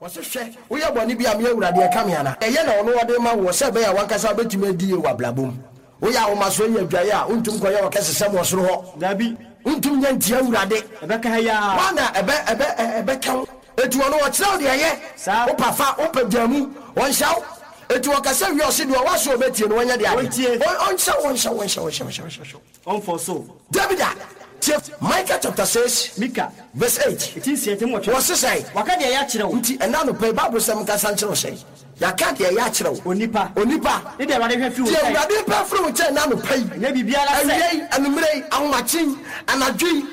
Ɔse, Hwɛ, woyɛ bɔne bi a, me Awurade, ɛka me anaa? Ɛyɛ na ɔno ɔde rema woɔ, sɛ ɛbɛyɛ a w'ankasa wobɛtumi adi yie wɔ abrabɔ mu. Woyɛ ahomasoɔ yi adwaeɛ a, wontumi nkɔyɛ ɔkɛsesɛm wɔ soro hɔ. Dabi. Wontumi nyɛ ntia Awurade. Ɛbɛka ha yi ara. Woana ɛbɛ, ɛbɛ, ɛ, ɛbɛka wo? Enti ɔno ɔkyerɛ wo deɛ ɛyɛ. Saa. Wopɛ fa, wopɛ gyaa mu, ɔnhyɛ wo. Enti ɔkasa wie a, ɔse deɛ ɔwɔ aso a ɔbɛtie no, ɔnyɛ deɛ adeɛ. Ɔntie. Ɔ, ɔnhyɛ wo, ɔnhyɛ wo, ɔnhyɛ wo, ɔnhyɛ wo, ɔnhyɛ wo. Ɔmfɔ so. Dabi da! Tie Micah chapter 6 Mika, verse 8. eti 6 8. Wɔse sɛn? Waka deɛ ɛyɛ akyerɛ wo. Nti ɛnnɛ anɔpa yi Bible sɛ menkasa nkyerɛ wo sɛn? Yɛaka deɛ ɛyɛ akyerɛ wo. Onipa. Onipa. Ne deɛ Awurade hwɛ firi wo Deɛ nkyɛn. Awurade pɛ firi wo nkyɛn ɛnnɛ anɔpa yi. Ɛnyɛ biribiara sɛ. Awia yi, anwummerɛ yi, ahomakye yi, anadwo yi.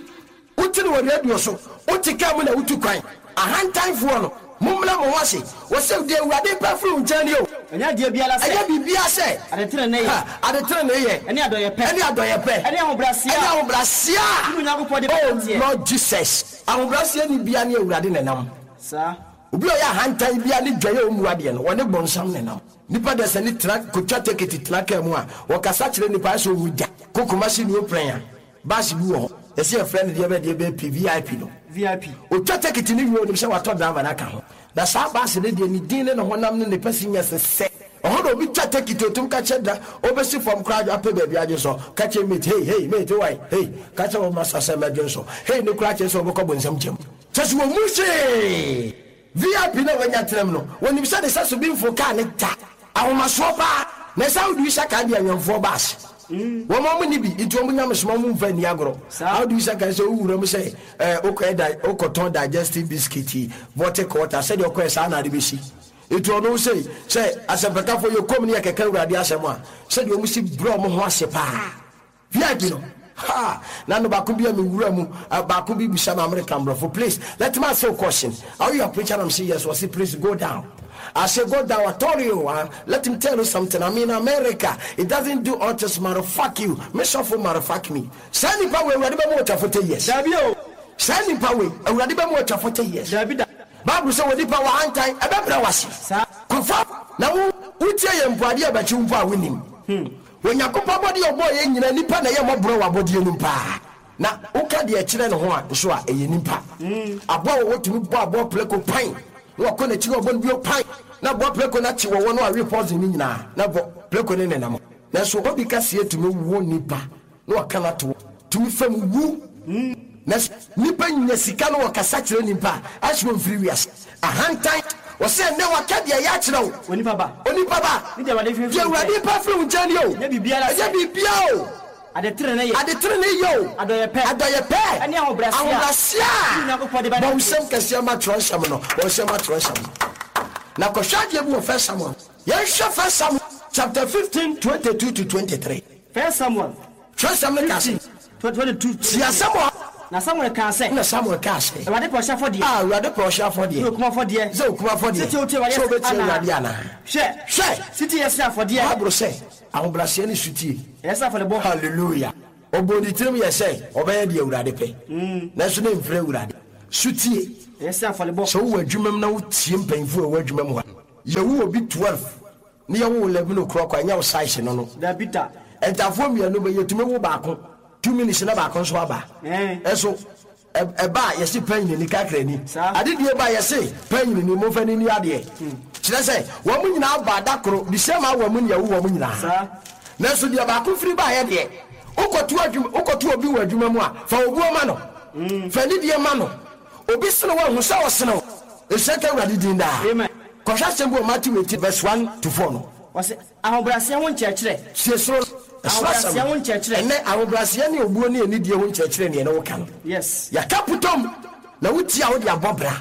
Wote no wɔ radio so, wote kaa mu na wotu kwan. Ahantanfoɔ no, mommrɛ mo ho ase. Wɔse, Deɛ Awurade repɛ afiri wo nkyɛn nie o. Ɛnyɛ adeɛ biara sɛ. Ɛnyɛ biribiara sɛ. Adeteneneeyɛ. Ha, adeteneneeyɛ. Ɛne adɔeɛpɛ. Ɛne adɔeɛpɛ. Ɛne ahobrɛaseɛ a. Ɛne ahobrɛaseɛ a. Wo ne Onyankopɔn de bɛnanteɛ. Oh Lord Jesus. Ahobrɛaseɛ ni biara ne Awurade na ɛnam. Saa. Obi a ɔyɛ ahantan biara ne dwaeɛ a ɔmmu adeɛ no, ɔne bonsam na ɛnam. Nipa dasani tena, kɔtwa tekiti tena kaa mu a, ɔkasa kyerɛ nipa ayɛ sɛ ɔwu da. Kɔ Kumasi New Prɛn a. Bus bi wɔ hɔ, yɛse yɛfrɛ no deɛ bɛn deɛ bɛn P, VIP no. VIP. Otwa tekiti no wie a, onim sɛ watɔ driver no aka ho. Na saa bus no deɛ, ne din ne ne honam ne ne pɛsi nyɛ sesɛ. Ɛhɔ na obi twa tekiti, otum ka kyerɛ dra, obesi fam koraa apɛ baabi adwe nsɔ, ka kyerɛ mate, hey, hey, mate, wo ae, hey, ka kyerɛ wo masta sɛ mɛdwe nsɔ, hey no koraa kyerɛ sɛ wobɛkɔ bonsam gyam. Kyerɛ sɛ wɔmmu hwee. VIP no a wanya tenam no, wɔnim sɛ ne sɛso bi mforo kaa no da. Ahomasoɔ paa. Na ɛsɛ how do you sɛ kan deɛ awɛmfoɔ ba ase. Wɔn a wɔnni bi nti wɔn nyamesom wɔn mfa nni agorɔ. How do you sɛ kan sɛ wo wura mu sɛ eh, wokɔyɛ di, wokɔtɔn digestive biscuit yi, vortic water, sɛdeɛ ɔkɔɛ saa na ade bɛsi. Nti ɔno sei, sɛ asɛmpakafoɔ yɛ kom ne yɛkɛka Awurade asɛm a, sɛdeɛ wɔn si brɛ wɔn ho ase paa. VIP no ha na no baako bi a me wura mu baako bi bisa me American brɔfo please let me ask you a question are you a preacher and I'm say yes ɔse please go down I say go down I told you ah let me tell you something I'm in America it doesn't do autism motherfuck you me sɔfo motherfuck me saa nipa wei awurade bɛma watwa 40 years Dabi o. saa nipa wei awurade bɛma watwa 40 years Dabi da. Bible sɛ wɔ nipa wɔ ahantan ɛbɛbrɛ wase Saa. kɔfa na wo wotie yɛ mpo adeɛ ɛbɛkye wo mpo a wonim hmm. Onyankopɔn abɔdeɛ a ɔbɔɔ yɛn nyinaa, nnipa na ɛyɛ mmɔborɔ wɔ abɔdeɛ no mu paa. Na woka deɛ ɛkyerɛ ne ho a nso a, ɛyɛ nnipa. Aboa a wɔwɔ tumi bɔ aboa prako pan, na wakɔ n'akyi na wabɔ no bio pan, na aboa prako no akye wɔwɔ no awe poison no nyinaa, na bɔ prako no nenam. Nanso obi kaseɛ tumi wo nnipa na waka no ato hɔ, tumi fa mu wu. Nanso nnipa nya sika na wɔkasa kyerɛ nnipa a, ayɛ sɛ wɔmfiri wiase. Ahantan. Ɔse ɛnnɛ waka deɛ ɛyɛ akyerɛ wo. Onipa ba. Onipa ba. Ne deɛ Awurade hwehwɛ Deɛ firi wo Awurade nkyɛn. pɛ firi wo nkyɛn nie o. Ɛnyɛ biribiara sɛ. Ɛnyɛ biribiara o. Ade tenenee yɛ. Ade tenenee yɛ o. Adɔeɛ pɛ. Adɔeɛ pɛ. Ɛne ahobrɛaseɛ a. Ahobrɛaseɛ a. Wo Nyankopɔn de bɛnante. Bɔ wo nsam kɛseɛ ma twerɛnsɛm no. Bɔ wo nsam ma twerɛnsɛm no. Na kɔhwɛ adeɛ bi wɔ First Samuel. Yɛnhwɛ First Samuel chapter 15, 22 to 23. First Samuel Twerɛsɛm no ka sɛ. 15, 22. Tie asɛm a. Na Samuel kaa sɛ. Ɛnna Samuel kaa sɛ. Awurade pɛ ɔhyeɛ afɔdeɛ. A, Awurade pɛ ɔhyeɛ afɔdeɛ. Ne okum afɔdeɛ. Sɛ okum afɔdeɛ. Sɛ wotie Awurade Sɛ wobɛtie anaa? Awurade anaa? Hwɛ! Hwɛ! Setie yɛ sene afɔdeɛ. Bible sɛ, Ahobrɛaseɛ ne sotie. Ɛyɛ sene afɔrebɔ. Hallelujah! Ɔbɔɔ ne tirim yɛɛ sɛ ɔbɛyɛ deɛ Awurade pɛ, nanso na ɛmfiri Awurade. Sotie. Ɛyɛ sene afɔrebɔ. Sɛ wowɔ adwuma mu na wotie mpanyimfoɔ a ɛwɔ adwuma mu hɔ a, yɛwo obi 12 Ne yɛwo wo 11 o'clock a, ɛnyɛ wo size no no. Dabi da. Ntafoɔ mmienu bɛ, yɛtumi wo baako 2 minutes na baako nso aba. Ɛnso ɛba a, yɛse panyinini kakrani. Adedie ba a, yɛse panyinini, momfa no nni adeɛ. Kyerɛ sɛ, wɔn nyinaa baa da koro, the same hour mu na yɛwo wɔn nyinaa. Nanso deɛ baako firi baeɛ deɛ, wokɔto adwuma, wokɔto obi wɔ adwuma mu a, fa obuo ma no. Fa anidie ma no. Obi sene wo a, hu sɛ ɔsene wo. Nhyira nka Awurade din daa. Amen. Kɔhwɛ asɛm bi wɔ Matthew 18 verse 1 to 4 no. Ɔse, ahobrɛaseɛ ho nkyerɛkyerɛ. Tie soro ɛsoro asɛm Ahobrɛaseɛ no. ho nkyerɛkyerɛ. Ɛnnɛ, ahobrɛaseɛ ne obuo ne anidie ho nkyerɛkyerɛ ne yɛne wo ka no. Yes. Yɛaka putom, na wotie a wode abɔ bra.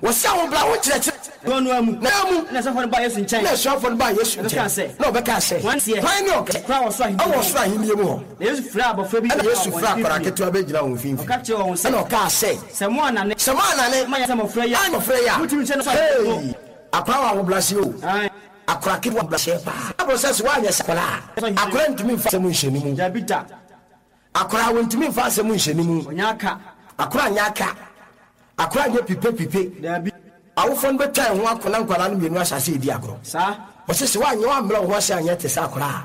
Wɔse ahobrɛ ho nkyerɛkyerɛ. Dɔn no ara mu. Na ara mu. Ɛna asuafoɔ no baa Yesu nkyɛn. Ɛna asuafoɔ no baa Yesu Na nkyɛn. ɔbɛkaa sɛ. Na ɔbɛkaa sɛ. Hwan teɛ? Hwan ne ɔkɛseɛ? Koraa wɔ soro ahennie Ɛwɔ mu. soro ahennie mu hɔ. Na Yesu frɛɛ abɔfra bi Ɛna gyinaa Yesu wɔn frɛɛ akwadaa mfimfini. ketewa bɛgyinaa wɔn mfimfini. Ɔka kyerɛɛ wɔn sɛ. Ɛna ɔkaa sɛ. Sɛ moannane. Sɛ moannane. Moanyɛ sɛ mmɔfra yi a. Anyɛ mmɔfra yi a. Montumi nhyɛne soro ahennie mu. Hey! Akwadaa wɔ ahobrɛaseɛ o. Aane. Akwadaa ketewa ahobrɛaseɛ paa. Bible sɛ sɛ woanyɛ sɛ akwadaa a, akwadaa ntumi mfa asɛm nhyɛ ne mu. Dabi da. Akwadaa wɔntumi mfa asɛm nhyɛ ne mu. Ɔnyɛ aka. Akwadaa nyɛ aka. Akwadaa nyɛ pipe pipe. Dabi. Awofoɔ no bɛtwa ɛho ako na nkwadaa no mmienu ahyɛ aseɛ redi agorɔ. Saa. Wɔse sɛ woanyɛ woammrɛ wo ho ase anyɛ te sɛ akwadaa a,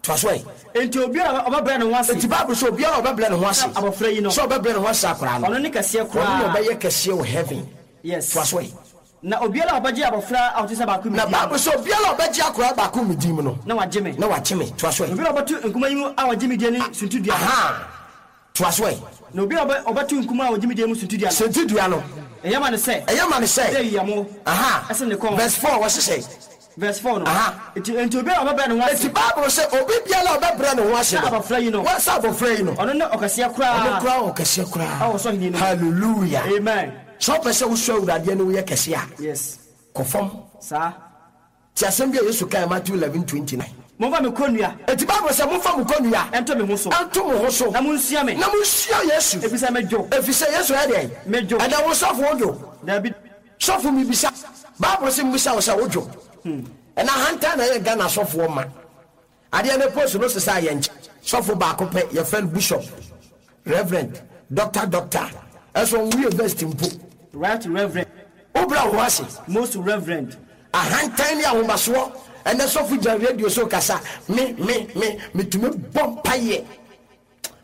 toa so ɛ. Enti obiara a ɔbɛbrɛ ne ho ase. Enti Bible sɛ obiara a ɔbɛbrɛ ne ho ase. Sɛ abɔfra yi no. Sɛ ɔbɛbrɛ ne ho ase sɛ akwadaa no. Ɔno ne kɛseɛ koraa. Ɔno na ɔbɛyɛ kɛseɛ wɔ heaven. Yes. Toa so ɛ. Na obiara a ɔbɛgye abɔfra a ɔte sɛ baako me Na din mu Bible no. sɛ obiara a ɔbɛgye akwadaa baako me din mu no. Na wagye me. Na wagye me. Toa so ɛ. Na obiara a ɔbɛto nkumaa yi mu a ɔgye me die no suntidua no. Ahaa. Toa so ɛ. Na obiara a ɔbɛto nkumaa a ɔgye me die mu suntidua no. Suntidua no. Ɛyɛ ma no sɛ. Ɛyɛ ma no sɛ. Sɛ yiyammo. Ahaa. Ɛsene ne kɔn. Verse 4, wɔse sɛn? Verse 4 no. Aha. Enti, enti obiara a ɔbɛbrɛ ne ho ase. Enti Bible se, obi biara a ɔbɛbrɛ ne ho ase Sɛ no. abɔfra yi no. Wɔ, sɛ abɔfra yi no. Ɔno ne ɔkɛseɛ koraa. Ɔno koraa ɔkɛseɛ koraa. Ɛwɔ ɔsoro ahennie no mu. Hallelujah. Amen. Sɛ wopɛ sɛ wosɔ Awurade ani woyɛ kɛse a. Yes. Kɔ fam. Saa. Te asɛm bi a Yesu kae Matthew 11:29. Momfa me kɔnnua. Enti Bible sɛ, Momfa mo kɔnnua. Nto me ho so. Nto mo ho so. Na monsua me. Na monsua Yesu. Efisɛ medwo. Efisɛ Yesu yɛ deɛn? Medwo. Ɛnɛ wo sɔfo wodwo? Dabi. Sɔfo mebisa, bible se mbisa wo sɛ wodwo? Ɛna ahantan na ɛyɛ Ghana sɔfoɔ ma. Adeɛ no post no sesa yɛ nkyɛ. Sɔfo baako pɛ yɛfrɛ no bishop, reverend, doctor doctor ɛso ɔnwo university mpo. Right reverend. Wo brɛ wo ho ase. Most reverend. Ahantan ne ahomasoɔ. Ɛnɛ sɔfo gyina radio so kasa, me me me metumi bɔ mpaeɛ.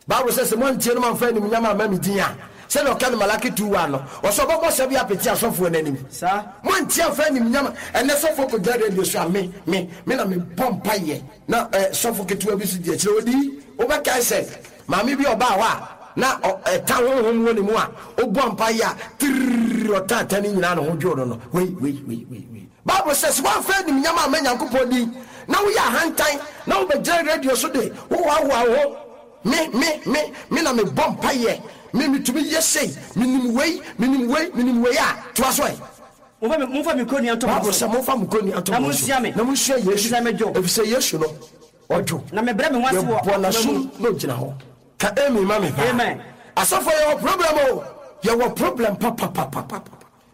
Bible sɛ, Sɛ moantie no moamfa animuonyam amma me din a, sɛdeɛ ɔka no Malaki 2:1 no, ɔsɛ ɔbɛbɔ sɛbe apete asɔfoɔ no anim. Saa. Moantie amfa animuonyam a, ɛnnɛ sɔfoɔ kɔgyina radio so a, me, me, me na mebɔ mpaeɛ. Na eh, sɔfo ketewa bi nso di akyire, ɔdi, wobɛkae sɛ, maame bi a ɔbaa hɔ a, na ɔ, ɛta honhom wɔ ne mu a, ɔbɔ mpaeɛ a, tirrrr, ɔta ata no nyinaa ne ho dwoo no no, wei, wei, wei, wei, wei. Bible sɛ, Sɛ woamfa animuonyam amma Nyankopɔn din, na woyɛ ahantan, na wobɛgyina radio so de wohoahoa wo ho, Me, me, me, me na mebɔ mpaeɛ, me, metumi yɛ sei, menim wei, menim wei, menim wei a, toa so ɛ. Momfa me, momfa me kɔnnua nto mo Bible so. sɛ, Momfa mo kɔnnua nto Na mo so, monsua me, na monsua Yesu, efisɛ medwo. efisɛ Yesu no, ɔdwo. Na mebrɛ me ho ase wɔ Yɛbɔ akoma mu. n'asom na ɔgyina hɔ. Ka amen ma me paa. Amen. Asɔfoɔ yɛwɔ problem o, yɛwɔ problem papapapapapa.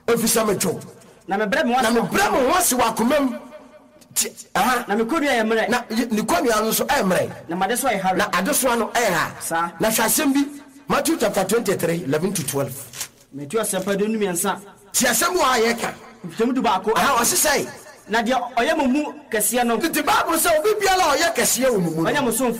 Efisɛ medwo. Na mebrɛ me ho Na ase wɔ mebrɛ akoma me mu. ho ase wɔ akoma mu. Ti, aha. Na me kɔnnua yɛ mmerɛ. Na ne kɔnnua no nso ɛyɛ mmerɛ. Na m'adesoa yɛ hare. Na adesoa no ɛyɛ ha. Saa. Na hwɛ asɛm bi, Matthew chapter 23, 11 to 12. Mateo Asɛmpa 23. Ti asɛm wɔ ha a yɛka. Nkyekyɛmu 11. Aha, ɔse sɛn? Na deɛ ɔyɛ mo mu kɛseɛ no. Nti Bible sɛ obi biara a ɔyɛ kɛseɛ wɔ mo mu no. Ɔnyɛ mo somfoɔ.